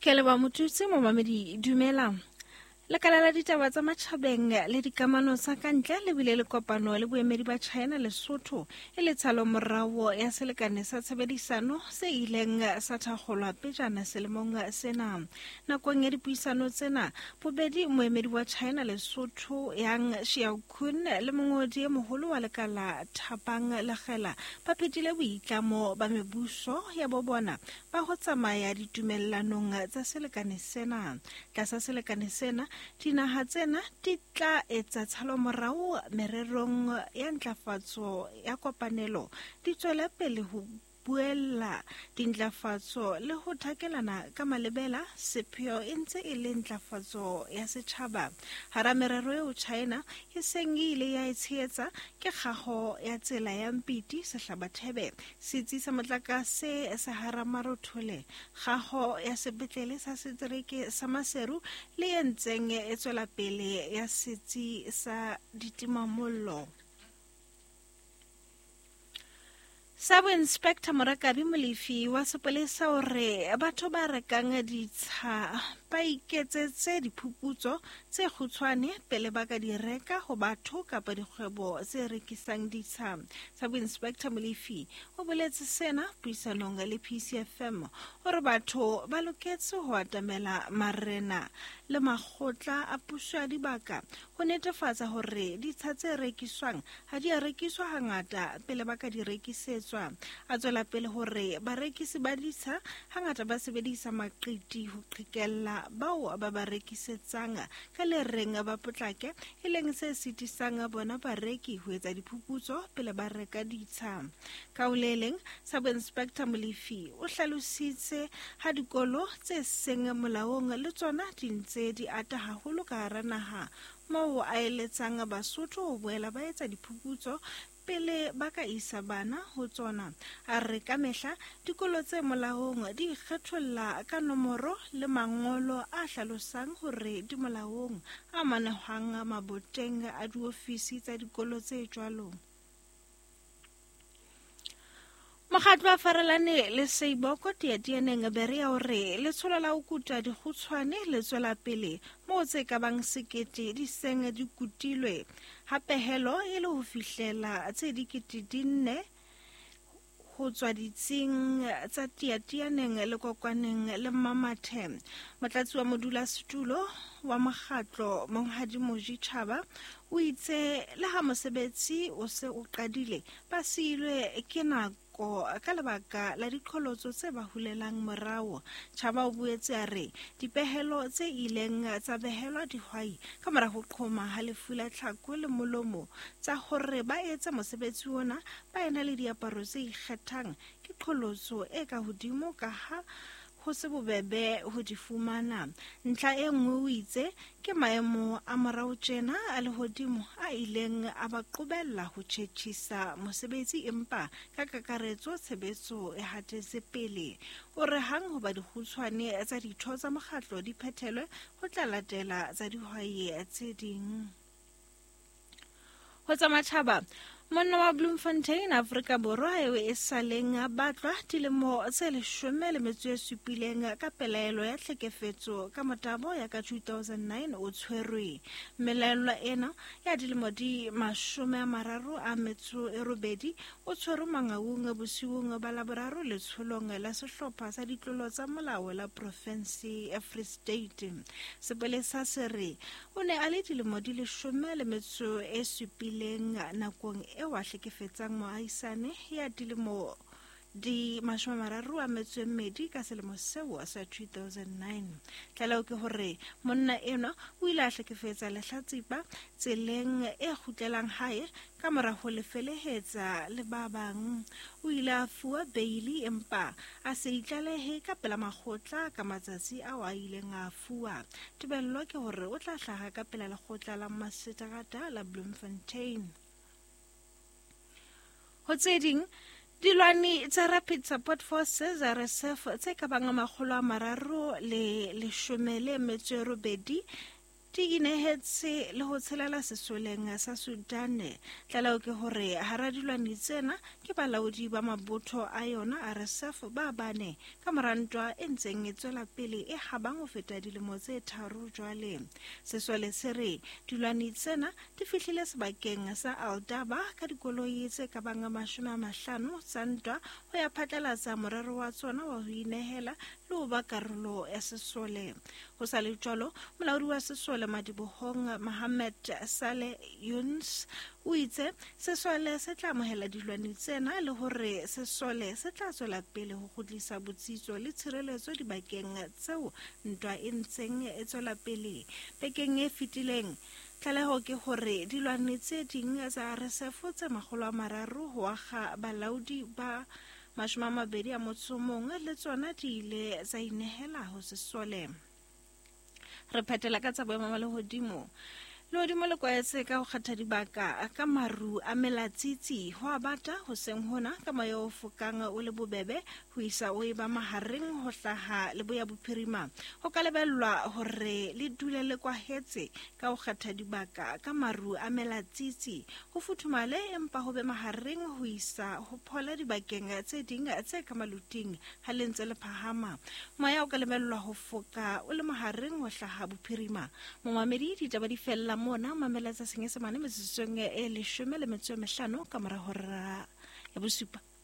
Ke leboha Motutsi, momamedi dumela. Lekala la ditaba tsa matjhabeng le dikamano tsa ka ntle le bile le kopano le boemedi ba China Lesotho e le tshalo morao ya selekane sa tshebedisano se ileng sa thakgolwa pejana selemong sena. Nakong ya dipuisano tsena, bobedi moemedi wa China Lesotho Yang Xiaokun le mongodi e moholo wa lekala Thapang Lekgela ba phethile boitlamo ba mebuso ya bo bona ba ho tsamaya ditumellanong tsa selekane sena. Tlasa selekane sena, dinaha tsena di tla etsa tshalomorao mererong ya ntlafatso ya kopanelo, di tswele pele ho buella dintlafatso le ho thakelana ka malebela, sepheo e ntse e le ntlafatso ya setjhaba. Hara merero eo China e seng e ile ya e tshehetsa ke kgaho ya tsela ya Mpiti Sehlabathebe, Setsi sa motlakase sa Haramarothole, kgaho ya sepetlele sa setereke sa Maseru le e ntseng e tswela pele ya setsi sa ditimamollo. Sub Inspector Morakabi Molefi wa sepolesa o re batho ba rekang ditsha ba iketsetse diphuputso tse kgutshwane pele ba ka di reka ho batho kapa dikgwebo tse rekisang ditsha. Sub Inspector Molefi o boletse sena puisanong le PCFM hore batho ba loketse ho atamela marena le makgotla a puso ya dibaka ho netefatsa hore ditsha tse rekiswang ha di a rekiswa hangata pele ba ka di rekisetswa. A tswela pele hore barekisi ba ditsha hangata ba sebedisa maqiti ho qhekella bao ba ba rekisetsang ka le reng ba potlake, e leng se sitisang bona bareki ho etsa diphuputso pele ba reka ditsha. Ka ho le leng, Sub Inspector Molefi o hlalositse ha dikolo tse seng molaong le tsona di ntse di ata haholo ka hara naha, moo a eletsang Basotho ho boela ba etsa diphuputso pele ba ka isa bana ho tsona. A re kamehla dikolo tse molaong di ikgetholla ka nomoro le mangolo a hlalosang hore di molaong, a manehwang maboteng a diofisi tsa dikolo tse jwalo. Mokgatlo wa Farelane le Seiboko Tiatianeng Berea o re letsholo la ho kuta dikgutshwane le tswela pele moo tse ka bang sekete di seng di kutilwe, ha pehelo e le ho fihlela tse dikete di nne ho tswa ditsing tsa Tiatianeng le Kokwaneng le Mmamathe. Motlatsi wa modulasetulo wa mokgatlo Monghadi Moji Chaba o itse le ha mosebetsi o se o qadile, ba siilwe ke nako ka lebaka la diqholotso tse ba hulelang morao. Chaba o boetse a re dipehelo tse ileng tsa behelwa dihwai ka mora ho qhoma ha lefu la tlhako le molomo tsa hore ba etse mosebetsi ona ba ena le diaparo tse ikgethang ke qholotso e ka hodimo kaha ho se bobebe ho di fumana. Ntlha e nngwe o itse ke maemo a morao tjena a lehodimo a ileng a ba qobella ho tjhetjhisa mosebetsi empa ka kakaretso tshebetso e hatetse pele. O re hang hoba dikgutshwane tsa ditho tsa mokgatlo di phethelwe ho tla latela tsa dihwai tse ding. Ho tsa matjhaba, monna wa Bloemfontein, Afrika Borwa eo e sa leng a batlwa dilemo tse 17 ka pelaelo ya tlhekefetso ka motabo ya ka 2009 o tshwerwe. Mmelaellwa ena ya dilemo di 38 o tshwerwe Mangaung bosiung ba Laboraro letsholong la sehlopha sa ditlolo tsa molao la profense ya Free State. Sepolesa se re O ne a le dilemo di 17 nakong eo a hlekefetsang moahisane ya dilemo di 32 ka selemo seo sa 2009. Tlaleho ke hore monna enwa o ile a hlekefetsa lehlatsipa tseleng e kgutlelang hae ka mora ho le felehetsa le ba bang. O ile a fuwa beili empa a se itlalehe ka pela makgotla ka matsatsi ao a ileng a fuwa. Tebello ke hore o tla hlaha ka pela lekgotla la maseterata la Bloemfontein. Ho tse ding, dilwani tsa Rapid Support Forces RSF tse ka bang 318 di inehetse le ho tshelela sesoleng sa Sudan. Tlaleho ke hore hara dilwani tsena ke balaodi ba mabotho a yona RSF ba bane ka mora ntwa e ntseng e tswela pele e habang ho feta dilemo tse 3 jwale. Sesole se re dilwani tsena di fihlile sebakeng sa Aldaba ka dikoloi tse ka bang 50 tsa ntwa ho ya phatlalatsa morero wa tsona wa ho inehela le ho ba karolo ya sesole. Ho sa le jwalo, molaodi wa sesole madibohong Mohammed Saleh Yuns o itse sesole se tla amohela dilwani tsena le hore sesole se tla tswela pele ho kgutlisa botsitso le tshireletso dibakeng tseo ntwa e ntseng e tswela pele. Bekeng e fetileng, tlaleho ke hore dilwani tse ding tsa RSF tse 300 ho akga balaodi ba 21 le tsona di ile tsa inehela ho sesole. Re phetela ka tsa boemo ba lehodimo. Lehodimo le kwaetse ka ho kgetha dibaka ka maru a melatsitsi ho a bata hoseng hona ka moya o fokang o le bobebe ho isa o eba mahareng ho hlaha leboya bophirima. Ho ka lebellwa hore le dule le kwahetse ka ho kgetha dibaka ka maru a melatsitsi ho futhumale empa ho be mahareng ho isa ho phola dibakeng tse ding tse ka maluting ha le ntse le phahama. Moya o ka lebellwa ho foka o le mahareng ho hlaha bophirima. Momamedi, ditaba di fella mona. Mamela tsa Senyesemane metsotsong e 15 ka mora hora ya 7.